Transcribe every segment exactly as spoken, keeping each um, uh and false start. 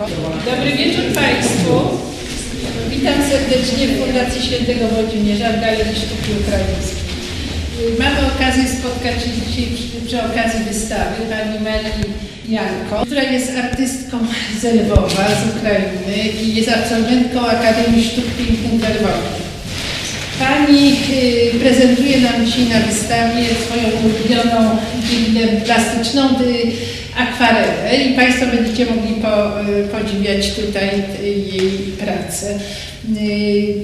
Dobry wieczór Państwu. Witam serdecznie w Fundacji Świętego Włodzimierza w Galerii Sztuki Ukraińskiej. Mamy okazję spotkać się dzisiaj przy, przy okazji wystawy pani Marii Janko, która jest artystką z Lwowa, z Ukrainy i jest absolwentką Akademii Sztuk Pięknych we Lwowie. Pani, y, prezentuje nam dzisiaj na wystawie swoją ulubioną, y, plastyczną, y, akwarelę i Państwo będziecie mogli po-, y, podziwiać tutaj, y, jej pracę. Y,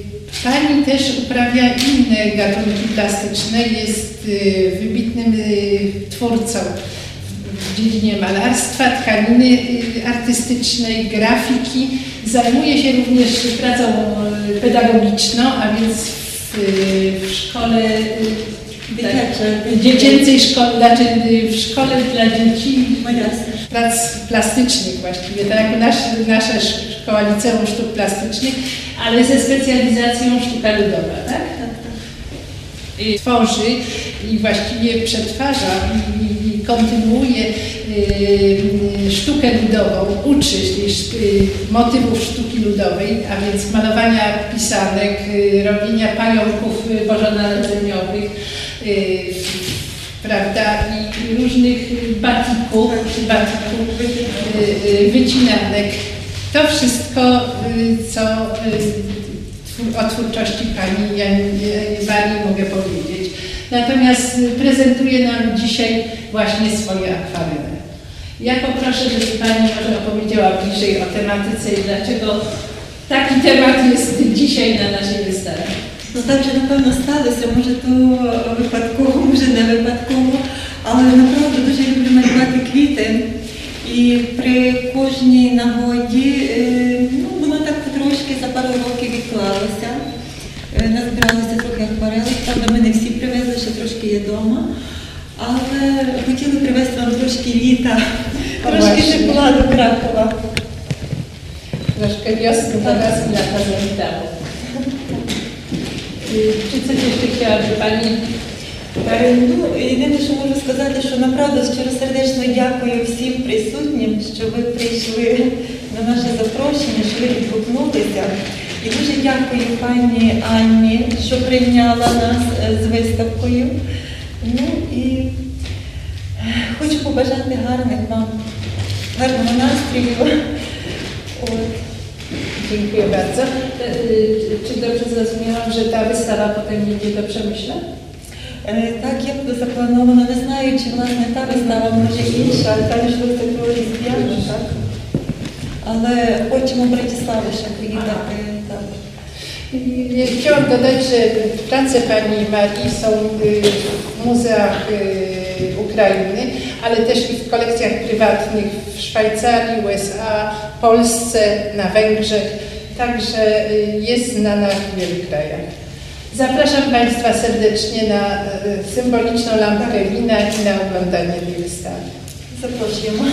pani też uprawia inne gatunki plastyczne, jest, y, wybitnym, y, twórcą w dziedzinie malarstwa, tkaniny, y, artystycznej, grafiki. Zajmuje się również pracą, y, pedagogiczną, a więc w, y, w szkole, y, dziecięcej szkole, znaczy, y, w szkole dla dzieci prac plastycznych właściwie. Tak jak nasz, nasza szkoła liceum sztuk plastycznych, ale ze specjalizacją sztuka ludowa, tak? Tak, tak. Y, tworzy i właściwie przetwarza i, i, i kontynuuje, y, y, sztukę ludową, uczy się, y, motywów sztuki ludowej, a więc malowania pisanek, y, robienia pająków, y, bożonarodzeniowych, y, prawda, i, i różnych, y, batików, batików, y, y, wycinanek. To wszystko, y, co, y, twór-, o twórczości pani Jan-, Marii mogę powiedzieć. Natomiast prezentuje nam dzisiaj właśnie swoje akwarele. Ja poproszę, żeby pani może opowiedziała bliżej o tematyce i dlaczego taki temat jest dzisiaj na naszej wystawie. Ну, так же, напевно, сталося, може, то випадково, може, не випадково, але направду дуже люблю малювати квіти. І при кожній нагоді, е, ну, воно так потрошки за пару років відклалося. Е, назбиралося трохи акварелей, правда, ми не всі привезли, ще трошки є вдома. Але хотіли привезти вам трошки літа, трошки тепла до Кракова. Troszkę wiosny do nas i lata zawitało. Y, czy coś jeszcze chciałaby pani? Е, ну, єдине, що можу сказати, що направду щиросердечно дякую всім присутнім, що ви прийшли на наше запрошення, що ви відгукнулися. І дуже дякую пані Анні, що прийняла нас, е, з виставкою. Ну і, е, хочу побажати гарних вам, гарного настрою. От. Dziękuję bardzo. E, e, czy dobrze zrozumiałam, że ta wystawa potem jedzie do Przemyśla? Е, так, як заплановано, не знаю, чи, власне, та вистава, може, інша, там йшлося про Різдвяну, так? Але хочемо в Братиславу ще поїхати, так. I chciałam dodać, że prace pani Marii są, y, w muzeach, y, Ukrainy, ale też i w kolekcjach prywatnych w Szwajcarii, U S A, Polsce, na Węgrzech. Także, y, jest znana w wielu krajach. Zapraszam państwa serdecznie na, y, symboliczną lampkę wina i na oglądanie tej wystawy. Запрошуємо.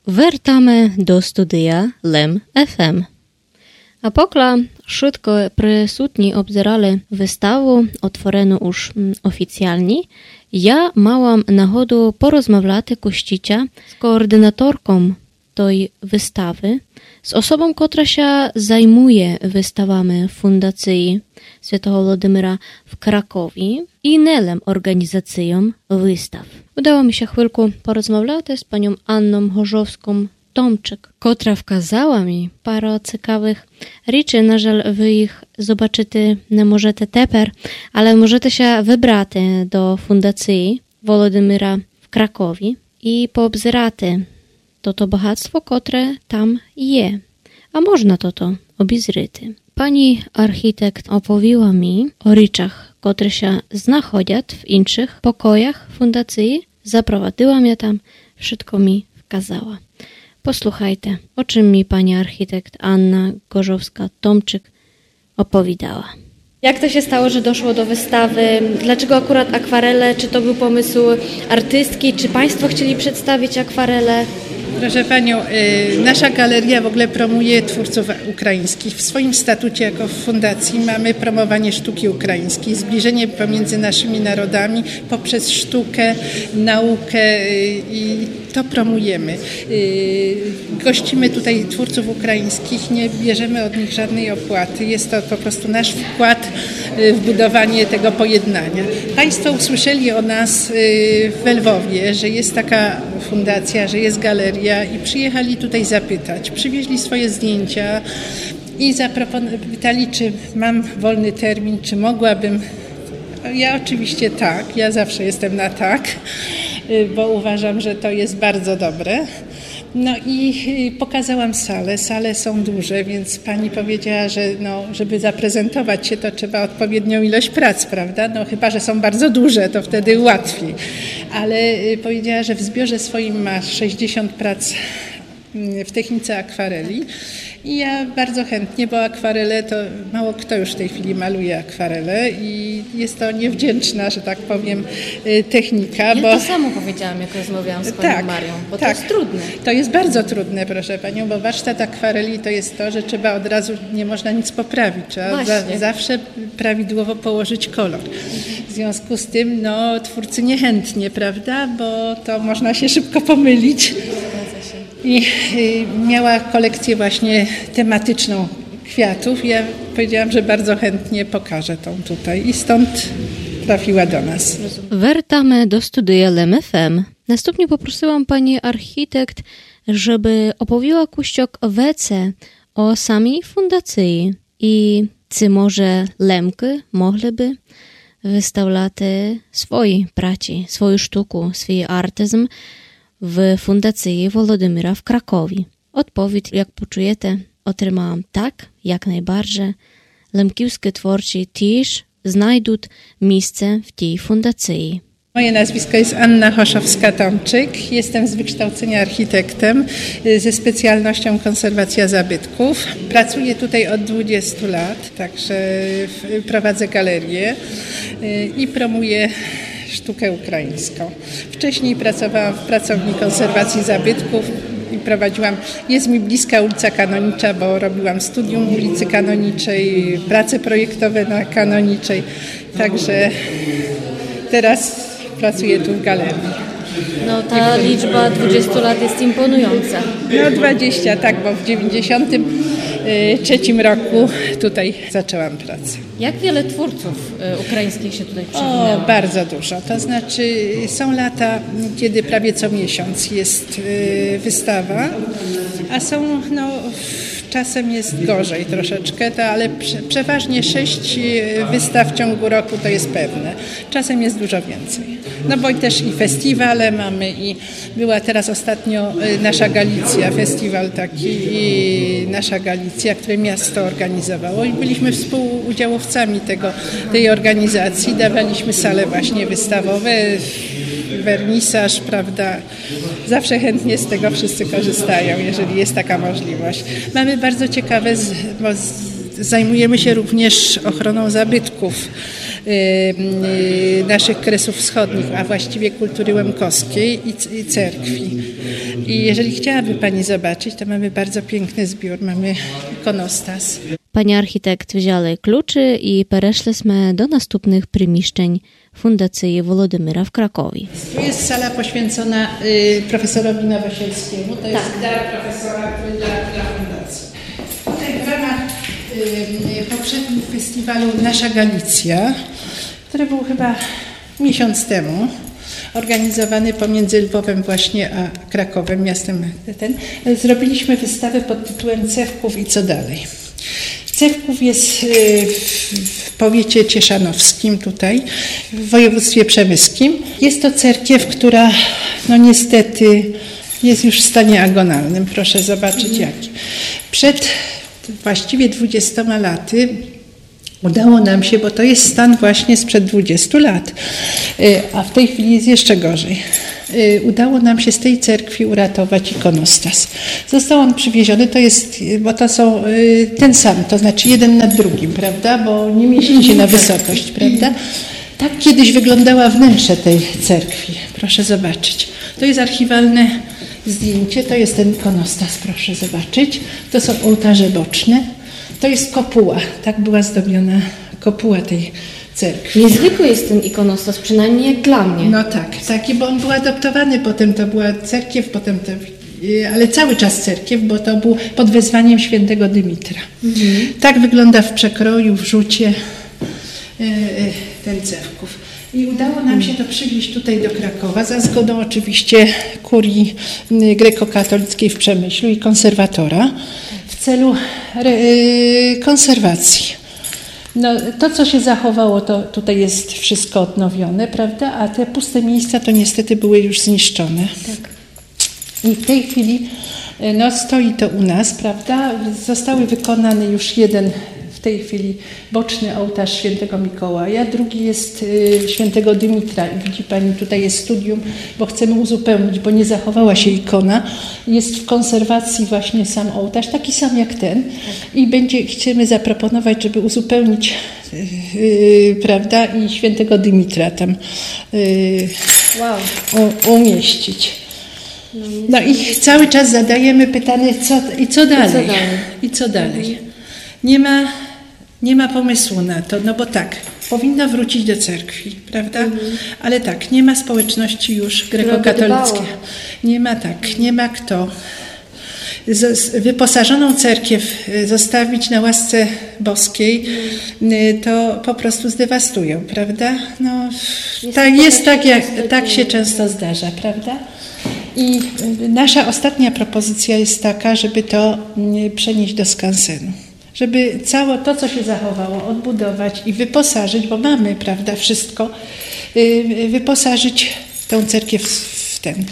Вертаме до студия Лем Ф М. А покля шытко присутні обзерали выставу, отворену уж, м, офіціалні, я мала нагоду порозмавляти кущиця з координаторком той выставы, з особом, котра ся займує выставами Фундациі Святого Володимира в Кракові і не лем орґанізацийом выстав. Удало мі ся хвильку порозмавляти з паньом Анном Гожовском Томчик, котра вказала мі пару цікавых річей. На жаль, вы їх зобачыти не можете тепер, але можете ся выбрати до Фундациі Володимира в Кракові і пообзирати тото богатство, котре там є. А можна тото обізрити. Пані архітект оповіла мі о річах, котры ся знаходять в іншых покоях Фундациі, запровадила мя там, вшытко мі вказала. Послухайте, о чым мі пані архітект Анна Ґожовска-Томчик оповідала. Jak to się stało, że doszło do wystawy? Dlaczego akurat akwarele? Czy to był pomysł artystki? Czy państwo chcieli przedstawić akwarele? Proszę panią, y, nasza galeria w ogóle promuje twórców ukraińskich. W swoim statucie jako w fundacji mamy promowanie sztuki ukraińskiej, zbliżenie pomiędzy naszymi narodami poprzez sztukę, naukę, y, i to promujemy. Y, gościmy tutaj twórców ukraińskich, nie bierzemy od nich żadnej opłaty. Jest to po prostu nasz wkład, y, w budowanie tego pojednania. Państwo usłyszeli o nas, y, we Lwowie, że jest taka fundacja, że jest galeria i przyjechali tutaj zapytać. Przywieźli swoje zdjęcia i zapropon-, pytali, czy mam wolny termin, czy mogłabym. Ja oczywiście tak, ja zawsze jestem na tak, y, bo uważam, że to jest bardzo dobre. No i, y, pokazałam sale. Sale są duże, więc pani powiedziała, że, no, żeby zaprezentować się, to trzeba odpowiednią ilość prac, prawda? No chyba że są bardzo duże, to wtedy łatwiej. Ale, y, powiedziała, że w zbiorze swoim ma sześćdziesiąt prac, mm, w technice akwareli. I ja bardzo chętnie, bo akwarele to mało kto już w tej chwili maluje akwarele i jest to niewdzięczna, że tak powiem, y, technika, Ja bo to samo powiedziałam, jak rozmawiałam z panią Tak, Marią, bo tak. To jest trudne. To jest bardzo trudne, proszę panią, bo warsztat akwareli to jest to, że trzeba od razu, nie można nic poprawić, trzeba za, Właśnie. zawsze prawidłowo położyć kolor. W związku z tym, no, twórcy niechętnie, prawda, bo to można się szybko pomylić. I, y, miała kolekcję właśnie tematyczną kwiatów. Ja powiedziałam, że bardzo chętnie pokażę tą tutaj i stąd trafiła do nas. Вертаме до студії Лем Ф М. Наступні попросила пані архітект, щоб оповіла кущок веце о самій фундації і чи може Лемкы могли бы выставляти свої працї, свою штуку, свій артизм в фундації Володимира в Кракові. Одповідь, як почуєте, отримала так, як найбарже. Лемківскы творці тіж знайдуть місце в тій фундації. Moje nazwisko jest Anna Hoszowska-Tomczyk. Jestem z wykształcenia architektem, y, ze specjalnością konserwacja zabytków. Pracuję tutaj od dwudziestu lat, także w-, prowadzę galerię, y, i promuję sztukę ukraińską. Wcześniej pracowałam w Pracowni Konserwacji Zabytków i prowadziłam, jest mi bliska ulica Kanonicza, bo robiłam studium ulicy Kanoniczej, prace projektowe na Kanoniczej. Także teraz pracuję tu w galerii. No, ta liczba dwudziestu lat jest imponująca. No dwadzieścia, tak, bo w dziewięćdziesiątym trzecim roku tutaj zaczęłam pracę. Jak wiele twórców, e, ukraińskich się tutaj O, przewinęło? Bardzo dużo. To znaczy są lata, kiedy prawie co miesiąc jest, y, wystawa, a są, no, w-, czasem jest gorzej troszeczkę, to, ale prze-, przeważnie sześć, y, wystaw w ciągu roku, to jest pewne. Czasem jest dużo więcej. No bo i też i festiwale mamy, i była teraz ostatnio, y, Nasza Galicja, festiwal taki, i Nasza Galicja, który miasto organizowało, i byliśmy współudziałowcami tego, tej organizacji. Dawaliśmy sale właśnie wystawowe, wernisaż, prawda? Zawsze chętnie z tego wszyscy korzystają, jeżeli jest taka możliwość. Mamy bardzo ciekawe, z-, bo z-, zajmujemy się również ochroną zabytków, y, y, naszych Kresów Wschodnich, a właściwie kultury łemkowskiej i c-, i cerkwi. I jeżeli chciałaby pani zobaczyć, to mamy bardzo piękny zbiór, mamy ikonostas. Пані архітект взяли ключі і перейшли сме до наступних приміщень фундації Володимира в Кракові. Tu jest sala poświęcona, y, profesorowi Nowosielskiemu. To jest dar profesora, który dla, dla fundacji. Tutaj w ramach, y, y, poprzednich festiwalu Nasza Galicja, który był chyba miesiąc temu, organizowany pomiędzy Lwowem właśnie a Krakowem, miastem ten, zrobiliśmy wystawę pod tytułem „Cewków i co dalej?” Cewków jest, y, w, w powiecie cieszanowskim tutaj, w województwie przemyskim. Jest to cerkiew, która, no, niestety jest już w stanie agonalnym. Proszę zobaczyć jaki. Przed właściwie dwudziestoma laty udało nam się, bo to jest stan właśnie sprzed dwudziestu lat, y, a w tej chwili jest jeszcze gorzej. Y, udało nam się z tej cerkwi uratować ikonostas. Został on przywieziony, to jest, y, bo to są, y, ten sam, to znaczy jeden nad drugim, prawda? Bo nie mieści się na wysokość, prawda? Tak kiedyś wyglądała wnętrze tej cerkwi. Proszę zobaczyć. To jest archiwalne Zdjęcie, to jest ten ikonostas, proszę zobaczyć. To są ołtarze boczne. To jest kopuła, tak była zdobiona kopuła tej cerkwi. Niezwykły jest ten ikonostas, przynajmniej jak dla mnie. No tak, taki, bo on był adoptowany potem, to była cerkiew, potem te, y, ale cały czas cerkiew, bo to był pod wezwaniem świętego Dymitra. Mhm. Tak wygląda w przekroju, w rzucie, y, y, ten cerków. I udało nam się to przywieźć tutaj do Krakowa, za zgodą oczywiście kurii, y, grekokatolickiej w Przemyślu i konserwatora w celu re-, y, konserwacji. No, to, co się zachowało, to tutaj jest wszystko odnowione, prawda? A te puste miejsca to niestety były już zniszczone. Tak. I w tej chwili, e, no, stoi to u nas, prawda? Zostały wykonany już jeden w tej chwili boczny ołtarz świętego Mikołaja, drugi jest, e, świętego Dymitra. I widzi pani, tutaj jest studium, bo chcemy uzupełnić, bo nie zachowała się ikona. Jest w konserwacji właśnie sam ołtarz, taki sam jak ten. I będzie, chcemy zaproponować, żeby uzupełnić, e, e, prawda, i świętego Dymitra tam, e, Wow. u-, umieścić. No i cały czas zadajemy pytanie, co, i co dalej? I co dalej? Mhm. Nie ma, nie ma pomysłu na to, no bo tak, powinno wrócić do cerkwi, prawda? Mhm. Ale tak, nie ma społeczności już grekokatolickiej. Dbało. Nie ma, tak, nie ma kto. Z-, z-, wyposażoną cerkiew, y, zostawić na łasce boskiej, y, to po prostu zdewastują, prawda? No, tak, jest tak, jak, tak się często zdarza, prawda? I, y, nasza ostatnia propozycja jest taka, żeby to, y, przenieść do skansenu. Żeby całe to, co się zachowało, odbudować i wyposażyć, bo mamy, prawda, wszystko, y, wyposażyć tę cerkiew w, w ten.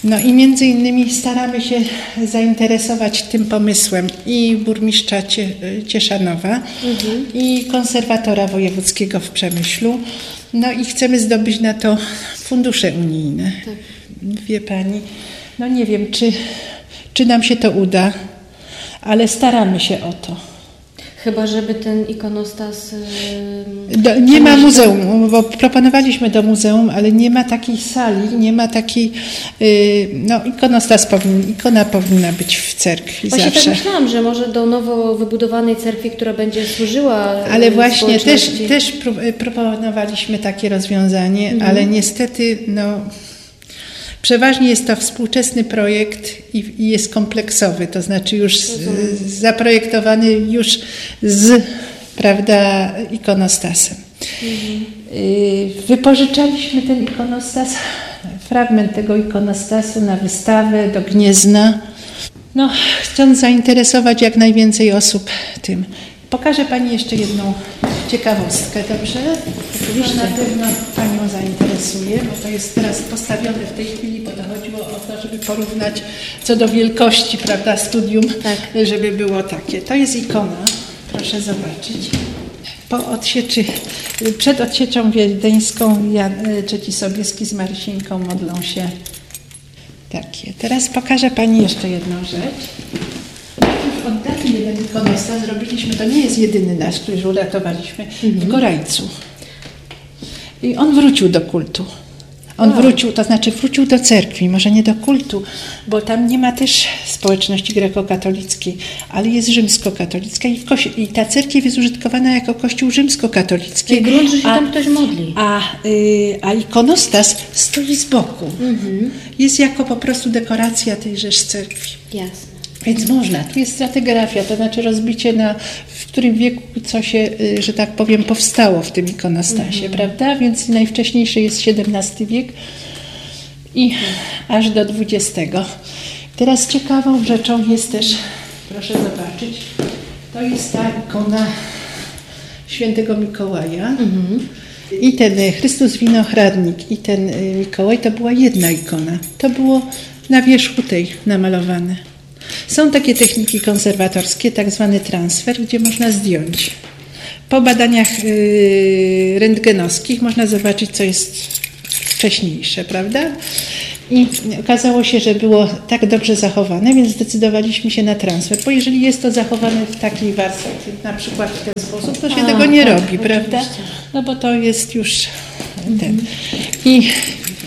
No i między innymi staramy się zainteresować tym pomysłem i burmistrza Cie-, Cieszanowa, i konserwatora wojewódzkiego w Przemyślu. No i chcemy zdobyć na to fundusze unijne. Tak. Wie pani, no nie wiem, czy, czy nam się to uda, ale staramy się o to. Chyba żeby ten ikonostas, ym, Do, nie ma przenieść do muzeum, bo proponowaliśmy do muzeum, ale nie ma takiej sali, nie ma takiej, y, no, ikonostas powinien, ikona powinna być w cerkwi zawsze. Właśnie tak myślałam, że może do nowo wybudowanej cerkwi, która będzie służyła, y, społeczności. Ale właśnie też, też pró-, y, proponowaliśmy takie rozwiązanie, ale niestety, no, przeważnie jest to współczesny projekt i, i jest kompleksowy, to znaczy już z-, zaprojektowany już z, prawda, ikonostasem. Y, wypożyczaliśmy ten ikonostas, fragment tego ikonostasu na wystawę do Gniezna. No, chcąc zainteresować jak najwięcej osób tym. Pokażę pani jeszcze jedną ciekawostkę, dobrze? Oczywiście. To na pewno panią zainteresuje, bo to jest teraz postawione w tej chwili, bo to chodziło o to, żeby porównać co do wielkości, prawda, studium, żeby było takie. To jest ikona, proszę zobaczyć. Po odsieczy, przed odsieczą wiedeńską Jan-, Trzeci Sobieski z Marysińką modlą się. Takie. Teraz pokażę pani jeszcze jedną rzecz. Już od dawna jeden ikonostas zrobiliśmy, to nie jest jedyny nasz, który już uratowaliśmy, w Gorajcu. I on wrócił do kultu. On wrócił, to znaczy wrócił do cerkwi, może nie do kultu, bo tam nie ma też społeczności grekokatolickiej, ale jest rzymskokatolicka i w koś-, i ta cerkiew jest użytkowana jako kościół rzymskokatolicki. Czyli grunt, że się tam ktoś modli. A, y, a ikonostas stoi z boku. Jest jako po prostu dekoracja tejże cerkwi. Jasne. Więc można, tu jest stratigrafia, to znaczy rozbicie na, w którym wieku co się, y, że tak powiem, powstało w tym ikonostasie, prawda? Więc najwcześniejszy jest siedemnasty wiek i aż do dwudziestego. Teraz ciekawą rzeczą jest też, proszę zobaczyć, to jest ta ikona świętego Mikołaja. I ten, y, Chrystus Winohradnik i ten, y, Mikołaj to była jedna ikona. To było na wierzchu tej namalowane. Są takie techniki konserwatorskie, tak zwany transfer, gdzie można zdjąć. Po badaniach, y, rentgenowskich można zobaczyć, co jest wcześniejsze, prawda? I okazało się, że było tak dobrze zachowane, więc zdecydowaliśmy się na transfer, bo jeżeli jest to zachowane w takiej warstwie, na przykład w ten sposób, to się tego nie robi, prawda? No bo to jest już ten. I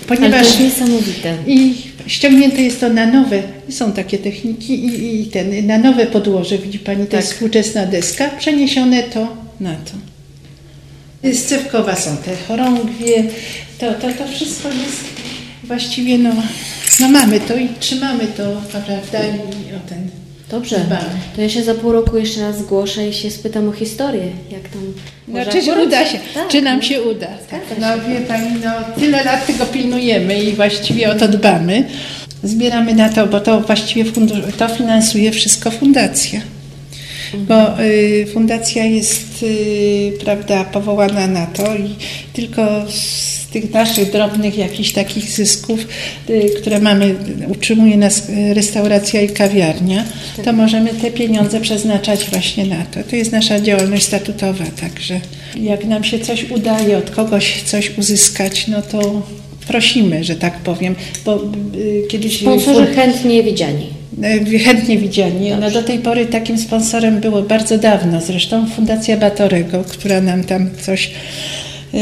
ponieważ... Ale to jest niesamowite. I Ściągnięte jest to na nowe, są takie techniki i, i ten, na nowe podłoże, widzi pani, to jest współczesna deska, przeniesione to na to. Scewkowa są te chorągwie, to, to, to wszystko jest właściwie, no, no mamy to i trzymamy to, prawda, i o ten dbamy. Dobrze, to ja się za pół roku jeszcze raz zgłoszę i się spytam o historię, jak tam... No, czy uda się, czy nam się uda. No, wie pani, no, tyle lat tego pilnujemy i właściwie o to dbamy. Zbieramy na to, bo to właściwie fundusz, to finansuje wszystko fundacja. Bo y, fundacja jest, y, prawda, powołana na to i tylko z tych naszych drobnych jakichś takich zysków, y, które mamy, utrzymuje nas y, restauracja i kawiarnia, to możemy te pieniądze przeznaczać właśnie na to. To jest nasza działalność statutowa, także jak nam się coś udaje, od kogoś coś uzyskać, no to prosimy, że tak powiem, bo y, kiedyś... Sponsorzy chętnie widziani. E, chętnie widziani. No, do tej pory takim sponsorem było bardzo dawno, zresztą Fundacja Batorego, która nam tam coś, e,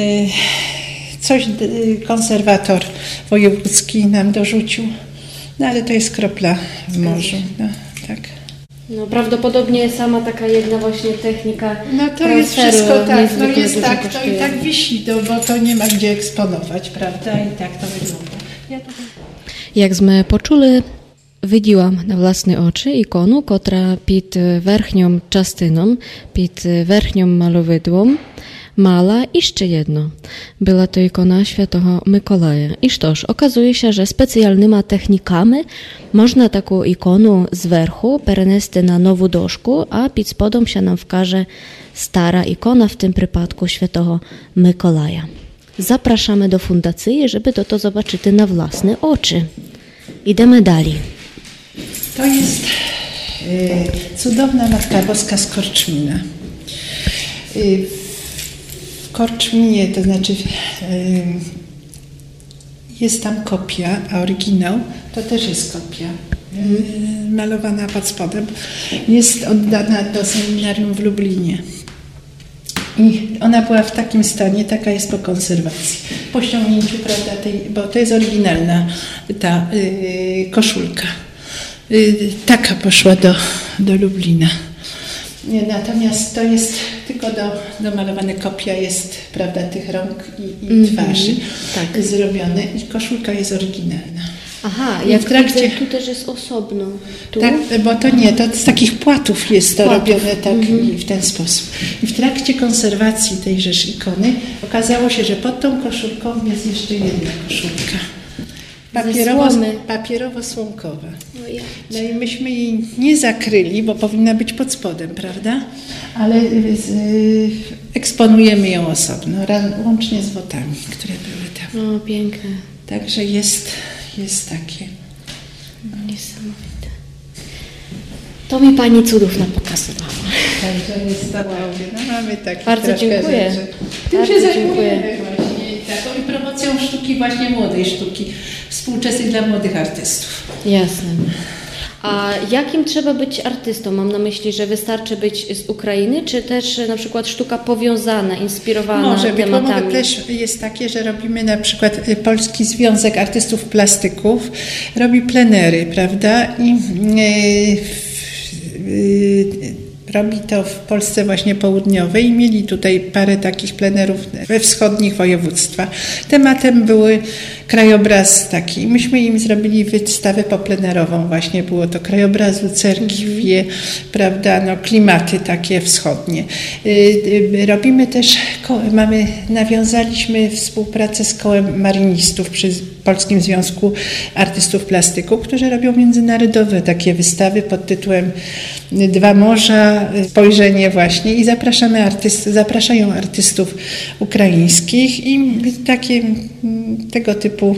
coś, e, konserwator wojewódzki nam dorzucił. No ale to jest kropla w morzu. No, tak. No, prawdopodobnie sama taka jedna właśnie technika... No to jest wszystko tak, no jest tak, to i tak wisi, no, bo to nie ma gdzie eksponować, prawda? I tak to wygląda. Ja tutaj... Як зме почули, виділа на власні очі ікону, котра під верхньом частином, під верхньом маловидлом мала іще єдно. Была то ікона святого Миколая. І што ж, оказує ся, же спеціялныма техніками можна таку ікону зверху перенести на нову дошку, а під сподом ся нам вкаже стара ікона, в тым припадку святого Миколая. Запрашаме до фундациі, жебы тото зобачыти на власні очі. Ідеме далі. To jest e, cudowna Matka Boska z Korczmina. E, w Korczminie, to znaczy e, jest tam kopia, a oryginał to też jest kopia. E, malowana pod spodem. Jest oddana do seminarium w Lublinie. I ona była w takim stanie, taka jest po konserwacji. Po ściągnięciu, prawda, tej, bo to jest oryginalna ta y, koszulka. Y, taka poszła do, do Lublina. Natomiast to jest tylko do, domalowane, kopia jest, prawda, tych rąk i, i twarzy zrobione i koszulka jest oryginalna. Aha, i jak w trakcie... Widzę, tu też jest osobno. Tu? Tak, bo to nie, to z takich płatów jest to robione tak i w ten sposób. I w trakcie konserwacji tejżeż ikony okazało się, że pod tą koszulką jest jeszcze jedna koszulka. Ze słomy. Papierowo-słomkowa. No i myśmy jej nie zakryli, bo powinna być pod spodem, prawda? Ale y, z, y, eksponujemy ją osobno, ra- łącznie z wotami, które były tam. O, piękne. Także jest, jest takie. Niesamowite. To mi pani cudów napokazywała. Także jest to takie, no mamy takie trochę rzeczy. Bardzo dziękuję. Tym się zajmujemy właśnie, taką i promocją sztuki, właśnie młodej sztuki, współczesnej dla młodych artystów. Jasne. A jakim trzeba być artystą? Mam na myśli, że wystarczy być z Ukrainy, czy też na przykład sztuka powiązana, inspirowana tematami? Może być, bo mamy też jest takie, że robimy na przykład y, Polski Związek Artystów Plastyków, robi plenery, prawda? I y, w- y, robi to w Polsce właśnie południowej i mieli tutaj parę takich plenerów we wschodnich województwach. Tematem były krajobraz taki. Myśmy im zrobili wystawę poplenerową właśnie. Było to krajobrazu, cerkwie, prawda, no, klimaty takie wschodnie. Y, y, Robimy też, ko- mamy, nawiązaliśmy współpracę z Kołem Marinistów przy Polskim Związku Artystów Plastyków, którzy robią międzynarodowe takie wystawy pod tytułem Dwa Morza, spojrzenie właśnie i zapraszamy artyst, zapraszają artystów ukraińskich i takie mm, tego typu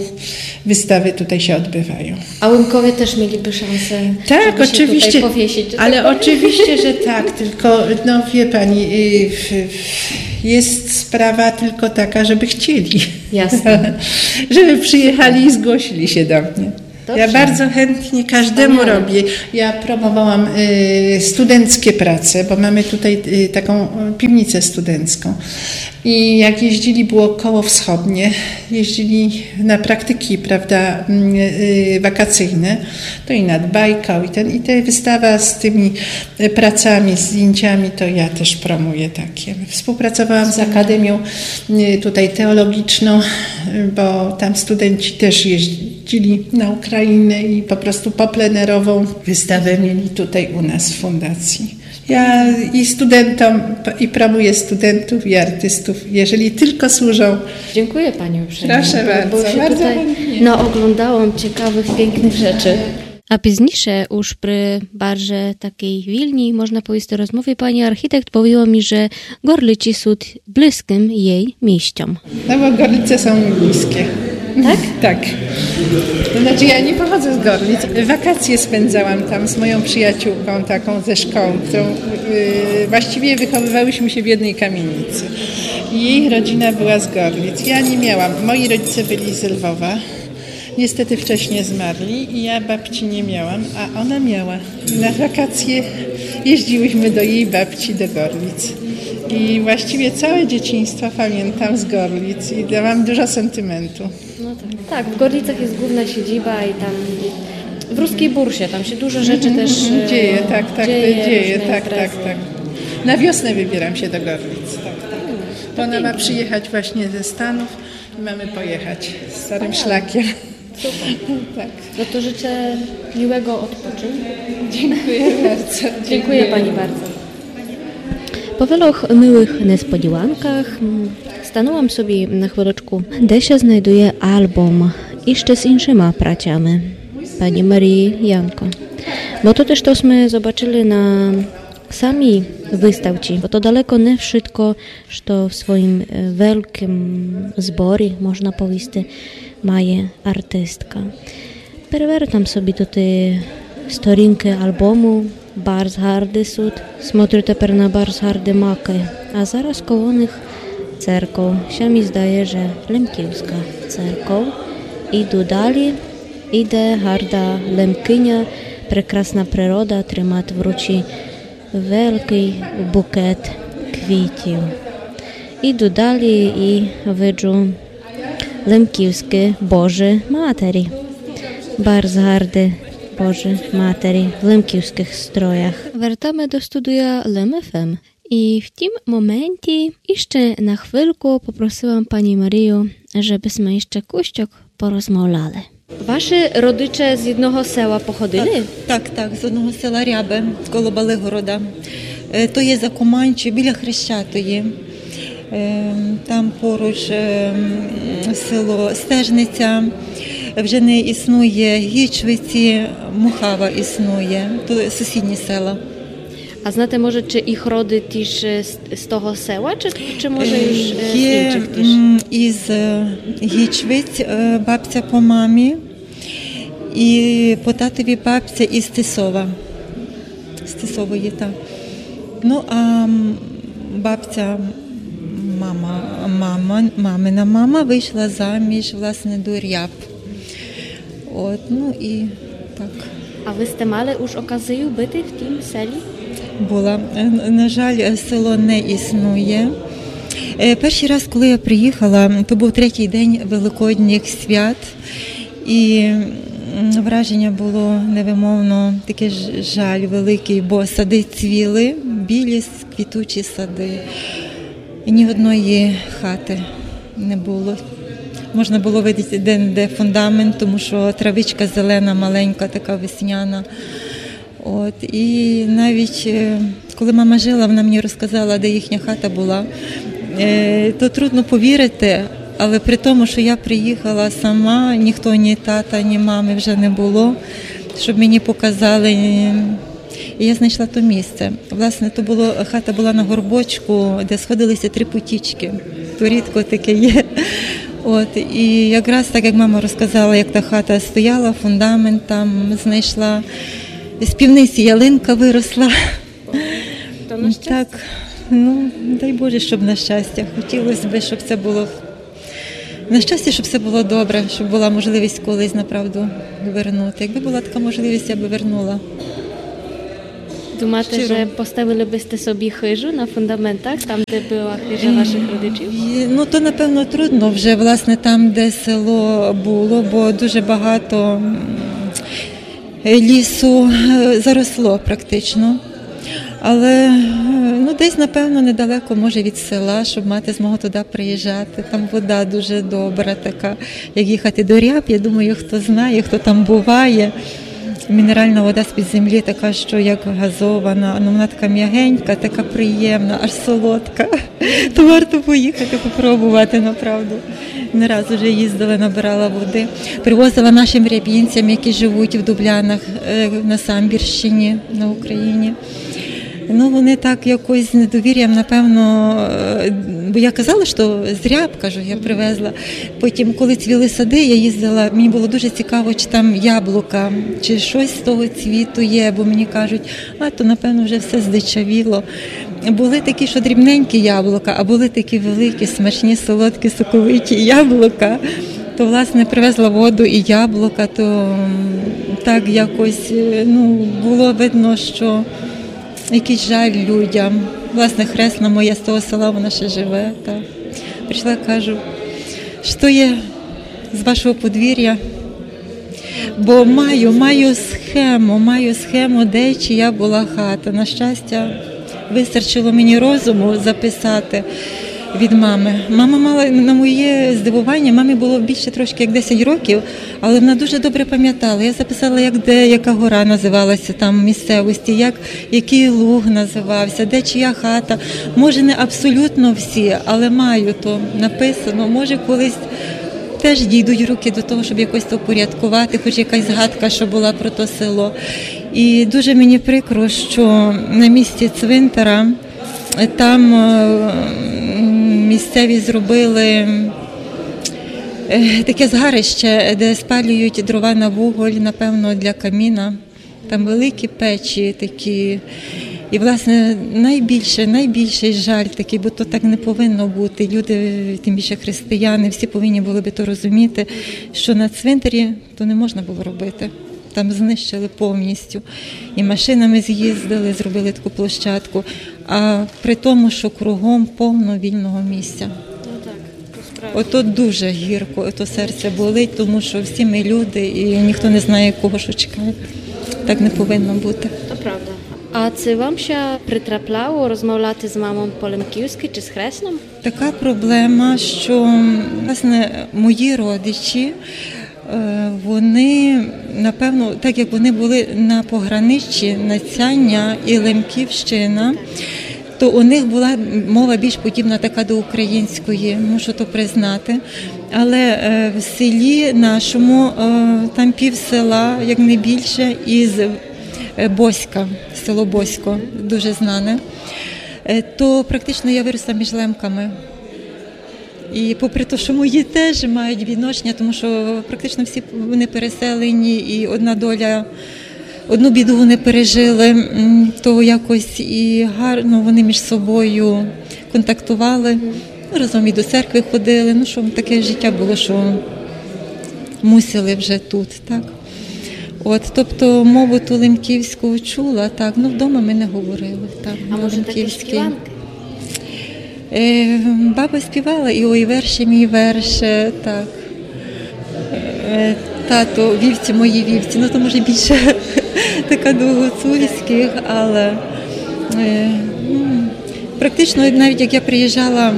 wystawy tutaj się odbywają. A Łemkowie też mieliby szansę, tak, żeby się oczywiście tutaj powiesić, że tak powiem. Ale oczywiście, że tak, tylko no wie pani, y, w- w- jest sprawa tylko taka, żeby chcieli. Jasne. Żeby przyjechali i zgłosili się do mnie. Ja bardzo chętnie każdemu robię. Ja promowałam, y, studenckie prace, bo mamy tutaj, y, taką, y, piwnicę studencką. I jak jeździli, było koło wschodnie, jeździli na praktyki, prawda, mm, y, wakacyjne, to i nad Bajkał, i ten, i te wystawa z tymi, y, pracami, zdjęciami, to ja też promuję takie. Współpracowałam z Akademią, y, tutaj teologiczną, y, bo tam studenci też jeździli na Ukrainę i po prostu poplenerową wystawę mieli tutaj u nas w fundacji. Ja i studentom, i promuję studentów, i artystów, jeżeli tylko służą. Dziękuję pani uprzejmie. Proszę bardzo, bardzo chętnie. Bo się tutaj naoglądałam ciekawych, pięknych rzeczy. А пізніше, уж при барже такій вільній, можна повісти, розмові, пані архітект повіла мі, же Горлици сут близькым єй місцом. No bo Gorlice są mi bliskie. Tak? Tak. To znaczy, ja nie pochodzę z Gorlic. Wakacje spędzałam tam z moją przyjaciółką taką ze szkoły, którą, yy, właściwie wychowywałyśmy się w jednej kamienicy. I jej rodzina była z Gorlic. Ja nie miałam. Moi rodzice byli z Lwowa. Niestety wcześnie zmarli i ja babci nie miałam, a ona miała. Na wakacje jeździłyśmy do jej babci do Gorlic. I właściwie całe dzieciństwo pamiętam z Gorlic i da-, mam dużo sentymentu. No tak. Tak, w Gorlicach jest główna siedziba i tam w Ruskiej Bursie, tam się dużo rzeczy też, e, dzieje, tak, tak, dzieje, tak, różne tak, imprezy. Tak. Na wiosnę wybieram się do Gorlic, tak, tak. Bo ona ma przyjechać właśnie ze Stanów i mamy pojechać starym szlakiem. Super. Tak. No to życzę miłego odpoczynku. Dziękuję bardzo. Dziękuję pani bardzo. По велох милых несподіванках, м, станула м собі на хвилочку, де ся знайдує албом іщы з іншыма працями пані Марії Янко. Бо то теж, што сме зобачыли на самій выставці, бо то далеко не вшытко, што в своім, е, великым зборі, можна повісти, має артистка. Перевертам собі туй сторінкы албому, барз гарды сут, смотрю тепер на барз гарды макы. А зараз коло них церков. Ся мі здає, же Лемківска церков. Іду далі, іде гарда Лемкыня, прекрасна природа, тримат в руці великый букет квітів. Іду далі і виджу лемківскы Божы Матері. Барз гарды Божы Матері в лемківскых строях. Вертаме до студія Лем ФМ. І в тім моменті іщы на хвильку попросила м пані Марію, жебы сме іщы кущок порозмовляли. Ваші родичі з одного села походили? Так, так, так, з одного села Рябе, коло Балигорода. Е, то є за Команчі, біля Хрещатої. Е, там поруч, е, м, село Стежниця. Вже не існує Гічвиці, Мухава існує. То сусідні села. А знаєте, може, чи їх роди тіж, е, з, з того села, чи, чи може, е, уж, е, з іншых тіж? Є, м, із, е, Гічвиць, е, бабця по мамі, і по татові бабця із Тисова. З Тисової, так. Ну, а, м, бабця, мама, мама, мамина мама вышла заміж, власне, до Ряб. От, ну і так. А вы сте мали уж оказію быти в тім селі? Була. Е, н-, на жаль, е, село не існує. Е, першый раз, коли я приїхала, то був третій день Великодніх свят. І, м, враження було невимовно таке ж-, жаль великий, бо сады цвіли, білі с-, квітучі сады. І ні одної хаты не було. Можна було видіти де-не-де фундамент, тому што травичка зелена, маленька, така весняна. От, і навіть, е, коли мама жила, вона мені розказала, де їхня хата була. Е, то трудно повірити, але при тому, що я приїхала сама, ніхто, ні тата, ні мами вже не було, щоб мені показали. І я знайшла то місце. Власне, то було, хата була на горбочку, де сходилися три потічки. То рідко таке є. От, і якраз так, як мама розказала, як та хата стояла, фундамент там знайшла. З пивниці ялинка виросла. То на щастя. Так, ну, дай Боже, щоб на щастя. Хотілося б, щоб це було На щастя, щоб все було добре, щоб була можливість колись направду вернути. Якби була така можливість, я би вернула. Думаєте, щиро, же поставили бы сте собі хыжу на фундаментах, там, де была хыжа вашых родичів? Е, ну, то, напевно, трудно вже, власне, там, де село було, бо дуже багато, м, лісу, е, заросло практично. Але, е, ну, десь, напевно, недалеко, може, від села, щоб мати змогу туди приїжджати. Там вода дуже добра така. Як їхати до Ряб, я думаю, хто знає, хто там буває. Мінеральна вода з-під землі така, що як газована. Ну, вона така м'ягенька, така приємна, аж солодка. То варто поїхати, попробувати, направду. Не раз уже їздила, набирала води. Привозила нашим рябінцям, які живуть в Дублянах, е, на Самбірщині, на Україні. Ну, вони так якось з недовір'ям, напевно, е, бо я казала, що з Ряб, кажу, я привезла. Потім, коли цвіли сади, я їздила, мені було дуже цікаво, чи там яблука, чи щось з того цвіту є, бо мені кажуть, а то, напевно, вже все здичавіло. Були такі, що дрібненькі яблука, а були такі великі, смачні, солодкі, соковиті яблука. То, власне, привезла воду і яблука, то, м, так якось, е, ну, було видно, що якийсь жаль людям. Власне, хресна моя з того села, вона ще живе. Та прийшла, кажу, що є з вашого подвір'я? Бо маю, маю схему, маю схему, де чия була хата. На щастя, вистачило мені розуму записати від мами. Мама мала, на моє здивування, мамі було більше трошки як десять років, але вона дуже добре пам'ятала. Я записала, як де, яка гора називалася там в місцевості, як, який луг називався, де чия хата. Може, не абсолютно всі, але маю то написано. Може, колись теж дійдуть руки до того, щоб якось то впорядкувати, хоч якась згадка, що була про то село. І дуже мені прикро, що на місці цвинтара, е, там, е, м, місцеві зробили, е, таке згарище, де спалюють дрова на вуголь, напевно, для каміна. Там великі печі такі. І, власне, найбільше, найбільший жаль такий, бо то так не повинно бути. Люди, тим більше християни, всі повинні були би то розуміти, що на цвинтарі то не можна було робити. Там знищили повністю. І машинами з'їздили, зробили таку площадку. А при тому, що кругом повно вільного місця. Ну так, то справді. Ото дуже гірко, ото серце болить, тому що всі ми люди, і ніхто не знає, кого що чекає. Так не повинно бути. То правда. А ци вам ся притрапляло розмовляти з мамом по лемківскы чи з хресном? Така проблема, що, власне, мої родичі, е, вони, напевно, так як вони були на пограниччі Надсяння і Лемківщина, то у них була мова більш подібна така до української, мушу то признати. Але, е, в селі нашому, е, там пів села, як не більше, із, е, Боська, село Босько, дуже знане. Е, то практично я виросла між лемками. І попри те, що мої теж мають відношення, тому що практично всі вони переселені, і одна доля, одну біду вони пережили, м, то якось і гарно вони між собою контактували, ну, разом і до церкви ходили. Ну, що таке життя було, що мусили вже тут, так. От, тобто мову ту лемківську чула, так, ну, вдома ми не говорили, так, на лемківській. А може такі співанки? Е, баба співала і «Ой, верше мій, верше», так. Е, «Тато, вівці мої, вівці». Ну, то, може, більше така до гуцульських, але, е, ну, практично, навіть як я приїжджала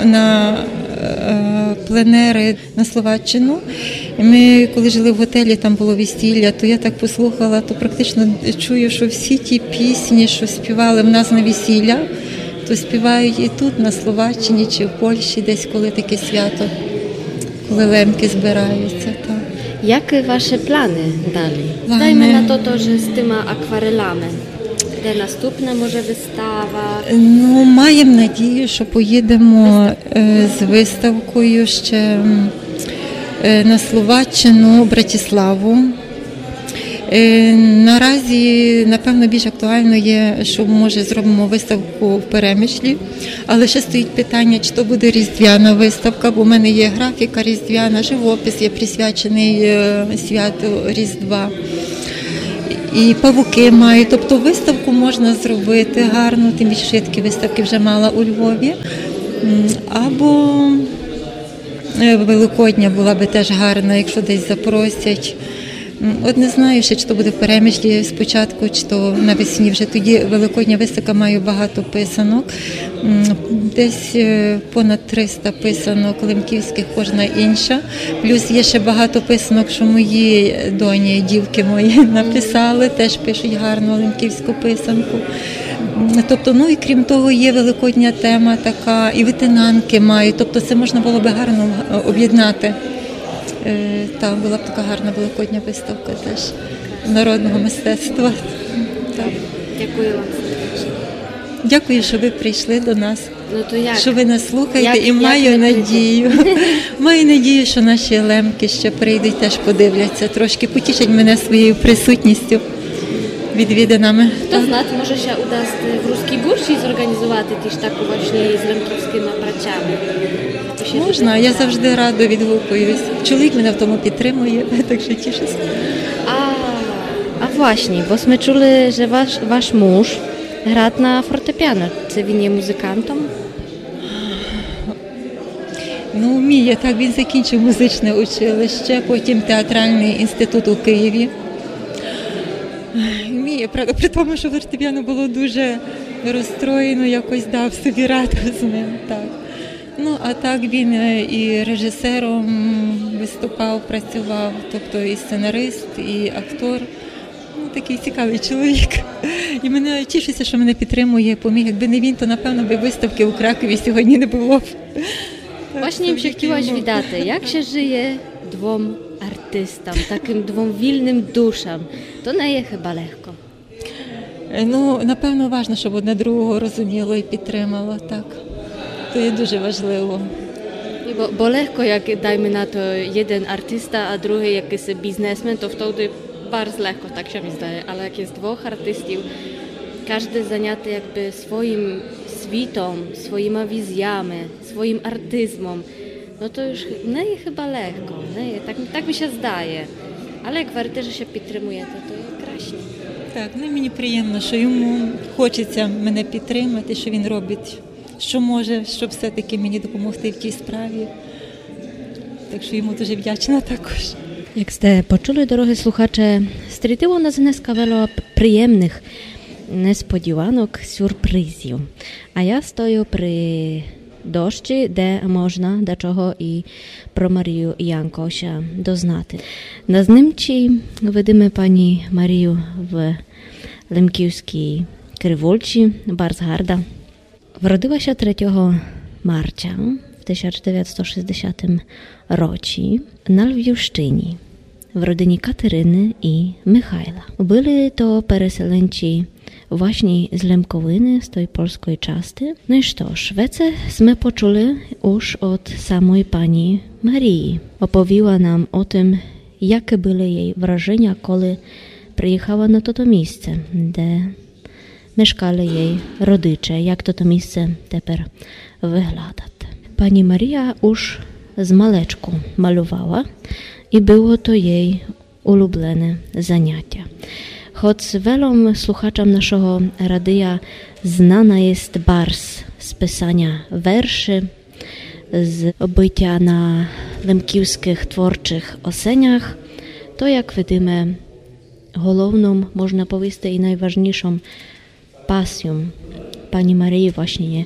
на, е, пленери на Словаччину, і ми, коли жили в готелі, там було весілля, то я так послухала, то практично чую, що всі ті пісні, що співали в нас на весіллях, то співають і тут, на Словаччині чи в Польщі, десь коли таке свято, коли лемки збираються. Так. Які ваші плани далі? Плани? Дайме на то, то, же з тыма акварелями. Де наступна може выстава? Ну, маємо надію, що поїдемо, е, з виставкою ще, м, е, на Словаччину, Братиславу. Е, наразі, напевно, більш актуально є, що, може, зробимо виставку в Перемишлі, але ще стоїть питання, чи то буде різдвяна виставка, бо в мене є графіка різдвяна, живопис є присвячений, е, святу Різдва. І павуки маю. Тобто виставку можна зробити гарну, тим більше, що я такі виставки вже мала у Львові. М, або, е, Великодня була би теж гарна, якщо десь запросять. М, от не знаю ще, чи то буде в Перемишлі спочатку, чи то навесні вже. Тоді великодня виставка, маю багато писанок. М, десь, е, понад триста писанок лемківських, кожна інша. Плюс є ще багато писанок, що мої доні, дівки мої написали, теж пишуть гарну лемківську писанку. М, тобто, ну і крім того, є великодня тема така, і витинанки мають. Тобто це можна було би гарно, е, об'єднати. Е, та, була б така гарна великодня виставка теж народного мистецтва. Так. Дякую вам. Дякую, що ви прийшли до нас. Ну, то як? Що ви нас слухаєте, і маю надію. Маю надію, що наші лемки ще прийдуть, теж подивляться трошки, потішать мене своєю присутністю, відвідинами. Хто знає, може ся удасти в Руській Бурші зорганізовати тіж таку власне з лемківськыма працями. Можна, я завжди радо відгукуюсь. Чоловік мене в тому підтримує, так що тішуся. А, а власне, бо сме чули, же ваш, ваш муж грат на фортепіано. Ци він є музикантом? Ну, вміє, так, він закінчив музичне училище, потім театральний інститут у Києві. Вміє, правда, при тому, що фортепіано було дуже розстроєно, якось дав собі раду з ним, так. Ну, а так він, е, і режисером виступав, працював, тобто і сценарист, і актор. Ну, такий цікавий чоловік. І мене тішуся, що мене підтримує, поміг. Якби не він, то, напевно, би виставки у Кракові сьогодні не було б. Власне, їм ся хотіла ся віддати, як ся жиє двом артистам, такым двом вільным душам? То не є хыба легко. Е, ну, напевно, важно, щоб одне другого розуміло і підтримало, так. То є дуже важливо. Бо, бо легко, як, дайме на то, єден артиста, а другый якысь бізнесмен, то втовды барз легко, так ся мі здає. Але як є двох артистів, кажде заняте якби своїм світом, своїма візіями, своїм артизмом, но то уж не є хыба легко, не є, так, так мі ся здає. Але як говорите, же ся підтримуєте, то є красно. Так, ну, мені приємно, що йому хочеться мене підтримати, що він робить, що може, щоб все-таки мені допомогти в тій справі. Так що йому дуже вдячна також. Як сте почули, дорогы слухаче, стрітило нас днеска вело приємных несподіванок, сюрпризів. А я стою при дощі, де можна дечого і про Марію Янко ся дознати. На знимці видиме пані Марію в лемківскій кривулці, барз гарда. Вродила ся третього марця в тисяч девятсто шістдесятым році на Львівщині в родині Катерины і Михайла. Были то переселенці власні з Лемковины, з той польской части. Ну і што ж, веце сме почули уж од самой пані Марії. Оповіла нам о тым, якы были єй враженя, коли приїхала на тото місце, де мешкали єй родиче, як тото місце тепер выглядат. Пані Марія уж з малечку малювала і было то єй улюблене занятя. Хоц велом слухачам нашого радия знана єст барз з писаня верши, з бытя на лемківскых творчых осенях, то, як видиме, головном, можна повісти, і найважнішом пасіом пані Марії власні є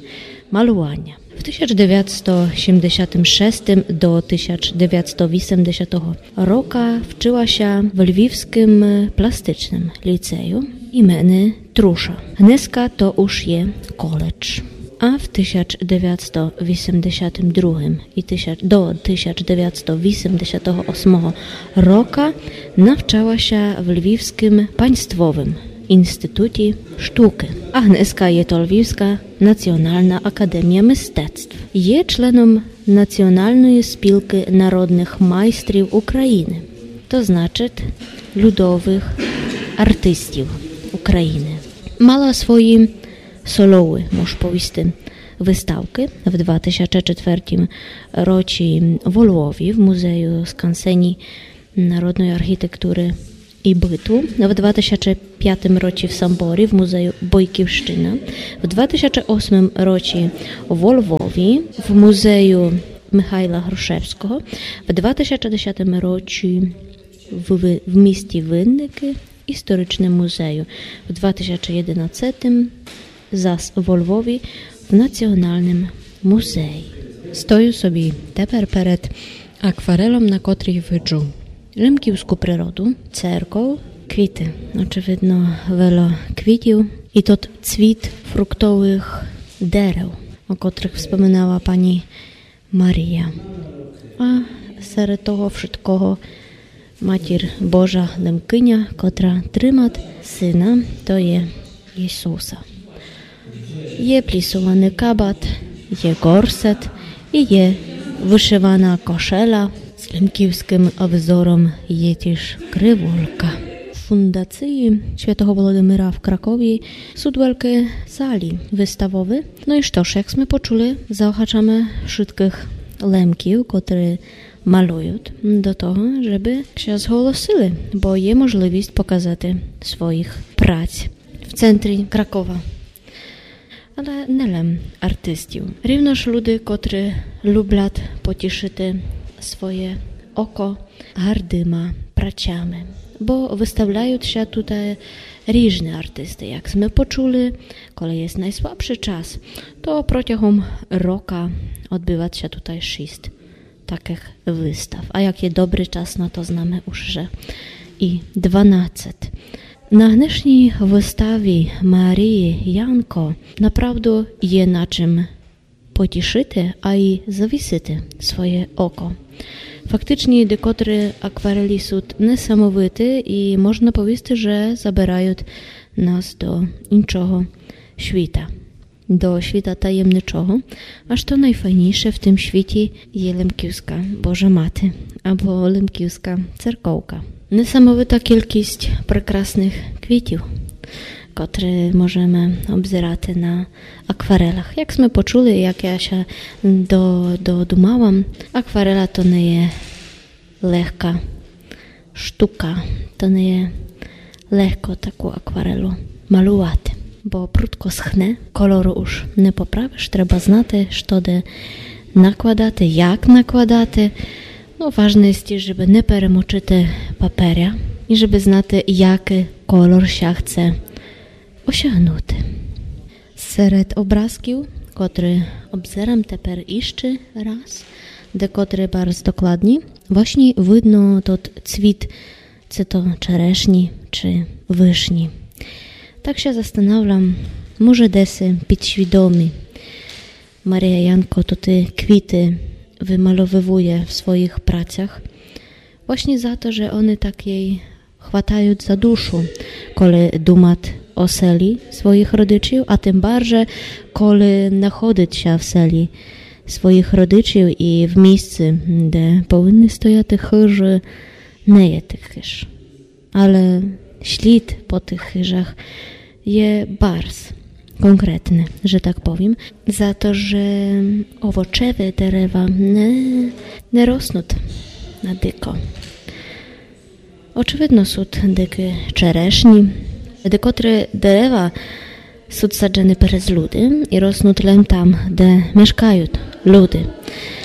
малюваня. В тисяч девятсто сімдесятым шестым до тисяч девятсто вісемдесятого рока вчыла ся в Львівскым пластичным ліцею імени Труша. Днеска то уж є коледж. А в тисяч девятсто вісемдесятым другым і тисяч, до тисяч девятсто вісемдесятого осмого рока навчала ся в Львівскым паньствовым інституті штукы. А днеска є то Львівска націонална академія мистецтв. Є членом Націоналної спілкы народных майстрів Україны, то значить людовых артистів України. Мала свої соловы, мож повісти, выставкы. В два тисячы четвертім році во Львові в музею Скансені народної архітектуры і быту, в два тисячы пятім році в Самборі в музею Бойківщина, в два тисячы восьмім році во Львові в музею Михайла Грушевського, в два тисячы десятім році в, в, в місті Винникы історичным музею, в два тисячы єдинадцятім зас во Львові в Націоналным музеї. Стою собі тепер перед акварелом, на котрій виджу лемківську природу, церков, квіты. Очевидно, вело квітів. І тот цвіт фруктовых дерев, о котрых вспоминала пані Марія. А серед того вшыткого Матір Божа Лемкиня, котра тримат сына, то є Ісуса. Є плісованый кабат, є горсет і є вышывана кошеля. З лемківськым взором є тіж кривулька. В фундації святого Володимира в Кракові сут великі залі выставовы. Но і што ж, як сме почули, заохачаме вшыткых Лемків, котры малюют, до того, жебы ся зголосили, бо є можливіст показати своїх праць в центрі Кракова. Але не лем артистів. Рівно ж люди, котры люблят потішыти своє око гардыма працями. Бо выставляют ся тутай ріжны артисты. Як сме почули, коли є найслабшый час, то протягом рока одбыват ся тутай шіст такых выстав. А як є добрый час, но то знаме уж, же і дванадцет. На днешній выставі Марії Янко направду є на чим потішыти, а й завісити своє око. Фактычні декотры акварелі сут несамовиты і можна повісти, же забирают нас до іншого світа. До світа таємничого, аж то найфайнійше в тым світі є лемківська Божа Мати або лемківська церковка. Несамовита кількість прекрасных квітів, котры можеме обзирати на акварелях. Як сме почули, як я ся до, додумала, акварела то не є легка штука, то не є легко таку акварелу малювати, бо прудко схне, кольору уж не поправиш, треба знати, што де накладати, як накладати. Но, важне є, жебы не перемочыти паперя і жебы знати, якый кольор ся хце осягнути. Серед образків, котры обзерам тепер іщы раз, декотры барз докладні, власні видно тот цвіт, ци то черешні, ци вышні. Так ся застанавлям, може, деси підсвідомі Марія Янко тоты квіты вымальовывує в своїх працях. Власні за то, же они так єй хватают за душу, коли думат о селі своїх родичів, а тым барже, коли находит ся в селі своїх родичів і в місци, де повинны стояти хыжы, не є тых хыж. Але слід по тых хыжах є барз конкретный, же так повім, за то, же овочевы дерева не, не роснут на дико. Очевидно, сут дикы черешні, декотры дерева сут саджены през люди і роснут лем там, де мешкают люди.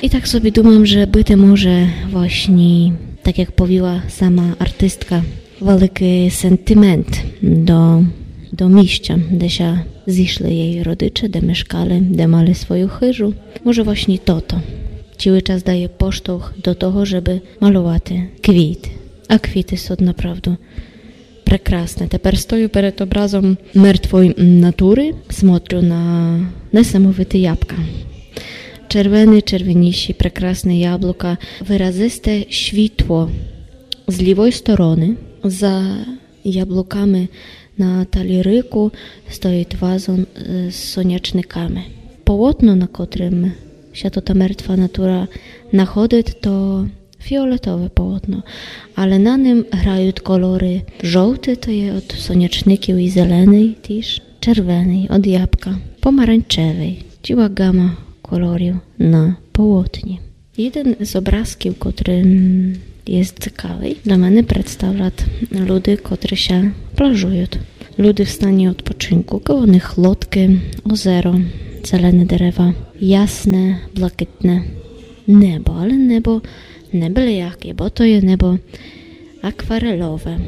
І так собі думам, же быти може власні, так як повіла сама артистка, великый сентимент до, до місця, де ся зішли єй родиче, де мешкали, де мали свою хыжу. Може, власні тото цілый час дає поштовх до того, жебы малювати квіт. А квіты сут направду прекрасны. Тепер стою перед образом мертвой натуры, смотрю на несамовиты ябка. Червены, червеніші, прекрасны яблука, выразисте світло з лівой стороны. За яблуками на талірику стоїть вазон, е, з сонячниками. Полотно, на котрым ся тота мертва натура находить, то фіолетове полотно, але на ним грають кольоры: жовтый, то є од сонячників, і зеленый тіж, червеный, од ябка, помаранчевый, цілая гама кольорів на полотні. Єден з образків, котрый, м, є цікавый, для мене представлять люди, котрі ся плажують. Люди в стані відпочинку, коло них лодкы, озеро, зелені дерева, ясне, блакитне небо, але небо не были яке, бо то є небо акварелове.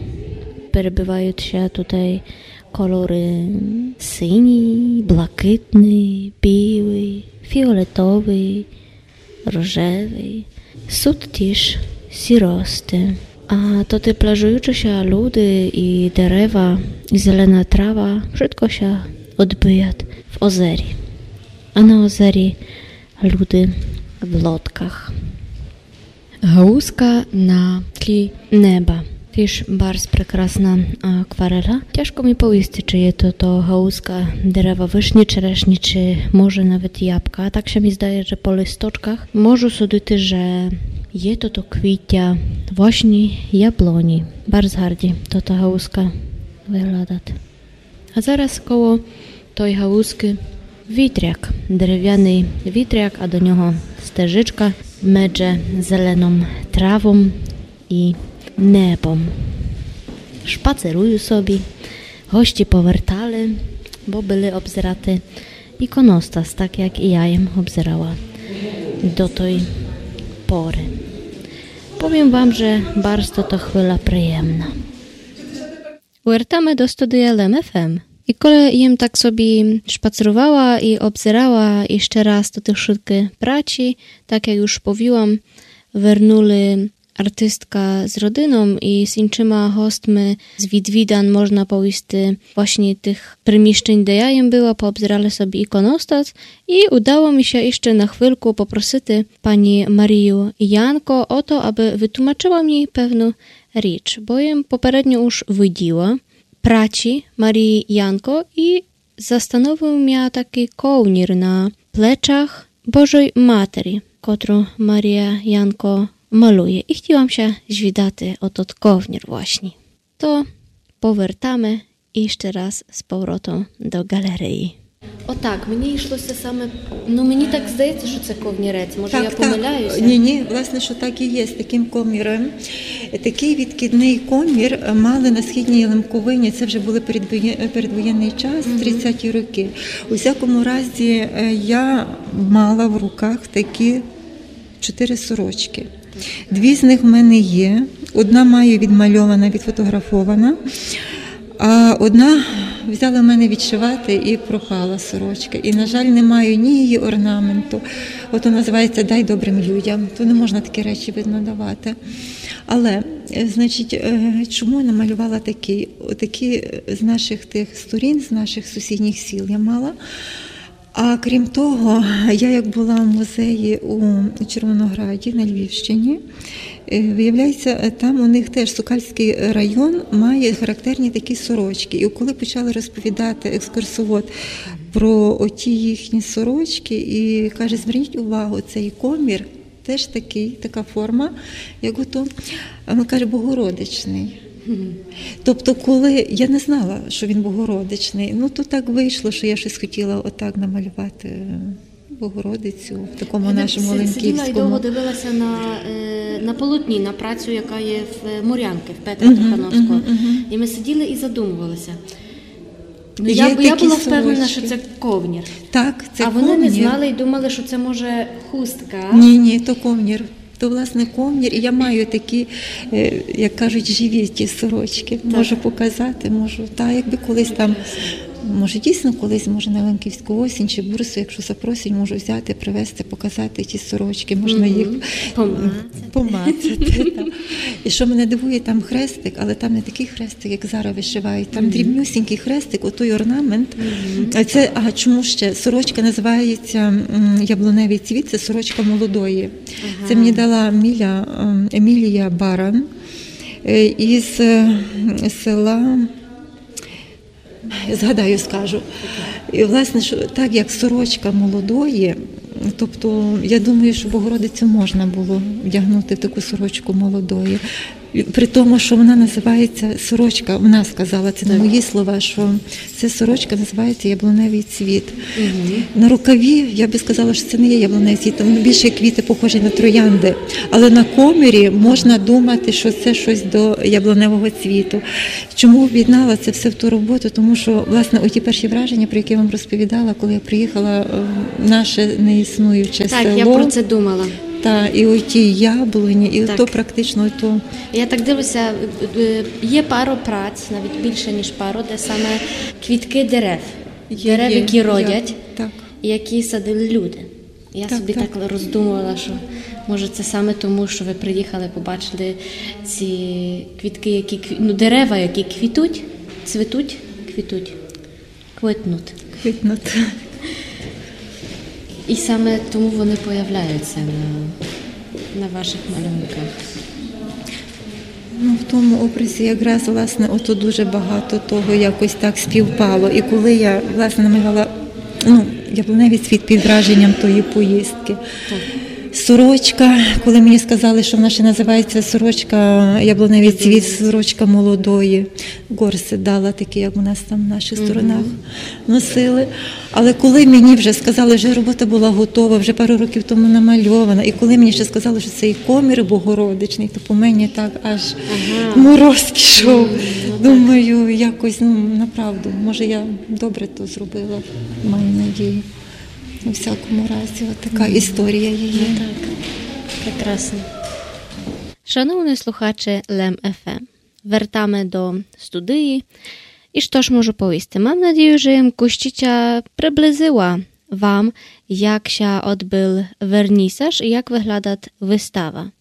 Перебивають ся тутай кольоры синій, блакитный, білый, фіолетовый, рожевый. Суть тіж сіросты. А тоты плажуючы ся люди і дерева, і зелена трава, вшытко ся одбыє в озері. А на озері люди в лодках. Галузка на тлі неба. Тіж барз прекрасна акварела. Тяжко мі повісти, чи є то, то галузка дерева вишні, черешні, чи може навіть ябка. А так ся мі здає, же по листочках можу судити, же є то, то квітя, власні яблоні. Барз гарді то та галузка выглядать. А зараз коло той галузкы вітряк, деревяный вітряк, а до нього стежечка медже зеленом травом і небом. Шпацерую собі, гості повертали, бо были обзирати іконостас, так як і я єм обзирала до той поры. Повім вам, же барз то, то хвиля приємна. Вертаме до студия Лем Ф М. І коли єм так собі шпацерувала і обзирала іщы раз тоты вшыткы працї, так як уж повіла, вернули артистка з родином і з іншыма гостми з відвідан, можна повісти, власні тых приміщень, де я єм была, пообзирали собі іконостас. І удало мі ся іщы на хвильку попросити панї Марію Янко о то, абы вытлумачыла мі певну річ, бо єм попередньо уж виділа працї Марії Янко і застановив мя такый ковнір на плечах Божой Матері, котру Марія Янко малює. І хотіла м ся звідати о тот ковнір власні. То повертаме іщы раз з поворотом до ґалереї. Отак, мені йшлося саме, ну, мені так здається, що це ковнірець. Може, я помиляюся? Ні, ні, власне, що так і є, з таким коміром. Такий відкидний комір мали на східній Лемковині, це вже були передвоє-, передвоєнний час, тридцяті роки. У всякому разі, е, я мала в руках такі чотири сорочки. Дві з них в мене є. Одна маю відмальована, відфотографована, а одна взяла в мене відшивати і пропала сорочка. І, на жаль, не маю ні її орнаменту. Ото називається «Дай добрим людям». То не можна такі речі, видно, давати. Але, е, значить, е, чому я намалювала такі? Отакі, е, з наших тих сторін, з наших сусідніх сіл я мала. А крім того, я як була в музеї у Червонограді на Львівщині, е, виявляється, е, там у них теж Сокальський район має характерні такі сорочки. І коли почали розповідати екскурсовод про оті їхні сорочки, і каже: «Зверніть увагу, цей комір теж такий, така форма, як ото», а він каже, «Богородичний». Тобто, коли я не знала, що він богородичний, ну, то так вийшло, що я щось хотіла отак намалювати, е, Богородицю в такому нашому лемківському. Сиділа і довго дивилася на, е, на полотні, на працю, яка є в, е, Морянки, в Петра Тихановського. І ми сиділи і задумувалися. Ну, я, я була впевнена, що це ковнір. Так, це ковнір. А вони не знали і думали, що це, може, хустка. Ні, ні, то ковнір. То, власне, ковнір. І я маю такі, е, як кажуть, живі ті сорочки. Так. Можу показати, можу. Та, якби колись там, може, дійсно колись, може, на Лемківську осінь чи бурсу, якщо запросять, можу взяти, привезти, показати ті сорочки. Можна їх помацати. Та. І що мене дивує, там хрестик, але там не такий хрестик, як зараз вишивають. Там дрібнюсінький хрестик, отой орнамент. А це, а чому ще? Сорочка називається, м, «Яблуневий цвіт», це сорочка молодої. Це мені дала Міля, ем, Емілія Баран, е, із, е, села, згадаю, скажу. І, власне, що так як сорочка молодої, Тобто, я думаю, що Богородицю можна було вдягнути в таку сорочку молодої. При тому, що вона називається сорочка, вона сказала, це не мої слова, що це сорочка називається яблуневий цвіт. На рукаві я би сказала, що це не є яблуневий цвіт, там більше квіти похожі на троянди. Але на комірі можна думати, що це щось до яблуневого цвіту. Чому об'єднала це все в ту роботу? Тому що, власне, оті перші враження, про які я вам розповідала, коли я приїхала, е, наше неіснуюче Так, село. Я про це думала. Та, і оті яблуні, і Так. То практично то. Я так дивлюся, е, є пару праць, навіть більше, ніж пару, де саме квітки дерев. Дерев, Є, які є, родять, Так. які садили люди. Я Так, собі так. Так роздумувала, що може це саме тому, що ви приїхали, побачили ці квітки, які кві... ну, дерева, які квітуть, цвітуть, квітуть, квітнуть. Квітнуть. І саме тому вони появляються на, на ваших малюнках. Ну, в тому образі якраз, власне, ото дуже багато того якось так співпало. І коли я, власне, намалювала, ну, яблуневий цвіт під враженням тої поїздки. Сорочка, коли мені сказали, що вона ще називається сорочка, яблуневий цвіт, сорочка молодої. Горсет дала такі, як у нас там в наших сторонах носили. Але коли мені вже сказали, що робота була готова, вже пару років тому намальована, і коли мені ще сказали, що це і комір Богородичний, то по мені так аж мороз пішов. Думаю, якось, ну, направду, може, я добре то зробила, маю надію. У всякому разі, от така історія її. Так, прекрасно. Шановні слухачі Лем ФМ, вертаме до студії. І што ж можу повісти? Мам надію, же єм кущиця приблизила вам, як ся одбыл вернісаж і як выглядат выстава.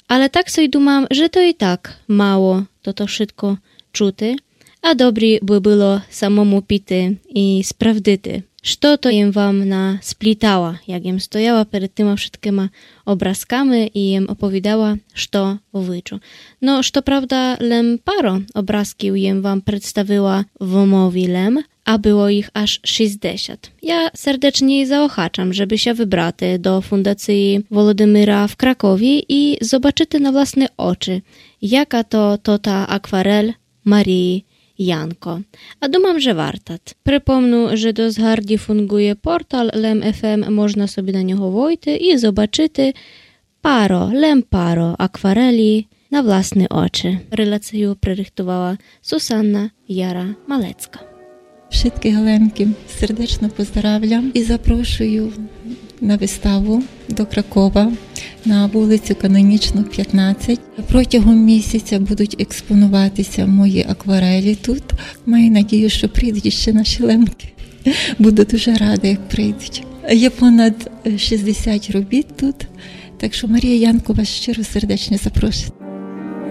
Але так собі думам, же то і так мало тото вшытко чути, а добрі бы было самому піти і справдити, што то єм вам насплітала, як єм стояла перед тыма вшыткыма образками і єм оповідала, што виджу. Но, што правда, лем пару образків єм вам представила в мові лем, а было їх аж шістдесят. Я сердечні заохачам, жебы ся выбрати до Фундації Володимира в Кракові і зобачыти на власны очы, яка то тота акварель Марії Янко. А думам, же вартат. Припомну, же досц гарді фунґує портал Лем ФМ, можна собі на нього войти і зобачыти пару, лем пару акварелі на власны очы. Релацію прирыхтувала Сусанна Яра-Малецка. Вшыткых Лемків сердечно поздравлям і запрошую на виставу до Кракова на вулицю Канонічну, пятнадцять. Протягом місяця будуть експонуватися мої акварелі тут. Маю надію, що прийдуть ще наші Лемки. Буду дуже рада, як прийдуть. Є понад, е, шістдесят робіт тут, так що Марія Янко вас щиро сердечно запрошує.